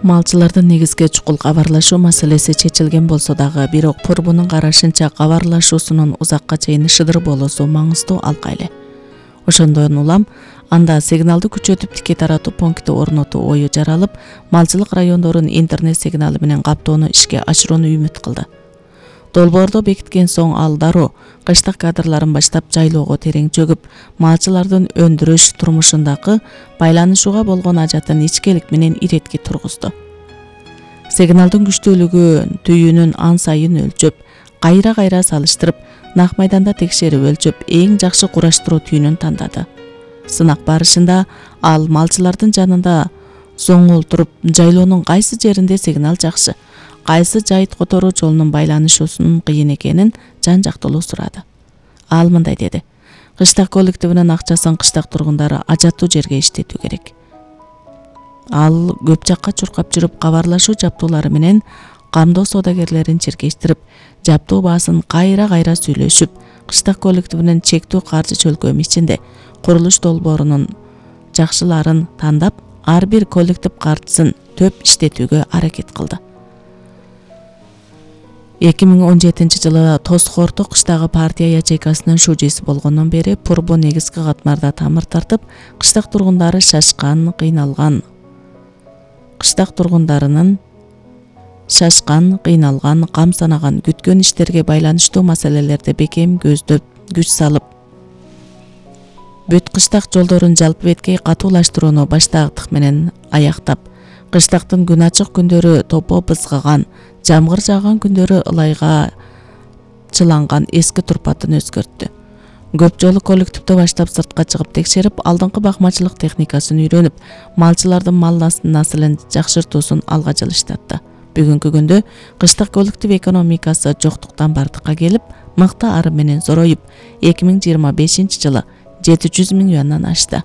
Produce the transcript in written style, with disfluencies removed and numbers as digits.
Малчылардын негизги чукул кабарлашуу маселеси чечилген болсо дагы, бирок Пурбунун карашынча кабарлашуусунун узакка чейин шыдыр болуусу маңыздуу алка эле. Ошондон улам анда сигналды күчөтүп тикей таратуу пункти орнотуу ою жаралып, малчылык райондорун интернет сигналы менен каптоону ишке ашырууну үмүт кылды. Долбоорду бекиткен соң ал дароо кыштык кадрларын баштап жайлоого терең чөгүп, малчылардын өндүрүш турмушундагы байланышууга болгон ажатын ичкилик менен иретке тургузду. Сигналдын күчтүүлүгүн түйүнүн ан сайын өлчөп, кайра салыштырып, нак майданда текшерип өлчөп, эң жакшы кураштыруу түйүнүн тандады. Сынак барышында ал малчылардын жанында зоңолтуруп, жайлоонун кайсы жеринде сигнал жакшы, кайсы жайыт которуу жолунун байланышуусунун кыйын экенин жан-жактылуу сурады. Ал мындай деди: кыштак коллективинин акчасын кыштак тургундары ажаттуу жерге иштетүү керек. Ал көп жакка чуркап жүрүп, кабарлашуу жаптуулары менен камдоо соодагерлерин чиркештирип, жаптуу баасын кайра сүйлөшүп, кыштак коллективинин чектүү каржы чөлкөмү ичинде курулуш долбоорунун жакшыларын тандап, ар бир коллектив каржысын төп иштетүүгө аракет кылды. 2017 жылы Тосхорто кыштагы партия ячейкасынын шужиси болгондон бери Пурбу негизги катмарда тамыр тартып, кыштак тургундары шашкан, кыйналган, кам санаган, күткөн иштерге байланыштуу маселелерди бекем көздөп, күч салып, бүт кыштак жолдорун жалпы беткей катуулаштырууну баштаактык менен аяктап, кыштактын күн ачык күндөрү топо бызгаган, жамгыр жааган күндөрү ылайга чыланган эски турпатын өзгөрттү. Көп жолу коллективди баштап сыртка чыгып текшерип, алдыңкы бакмачылык техникасын үйрөнүп, малчылардын мал наслын жакшыртуусун алга жылыштатты. Бүгүнкү күндө кыштак коллектив экономикасы жоктуктан бардыкка келип, мыкты ары менен зороюп, 2025 жылы 700 миң юандан ашты.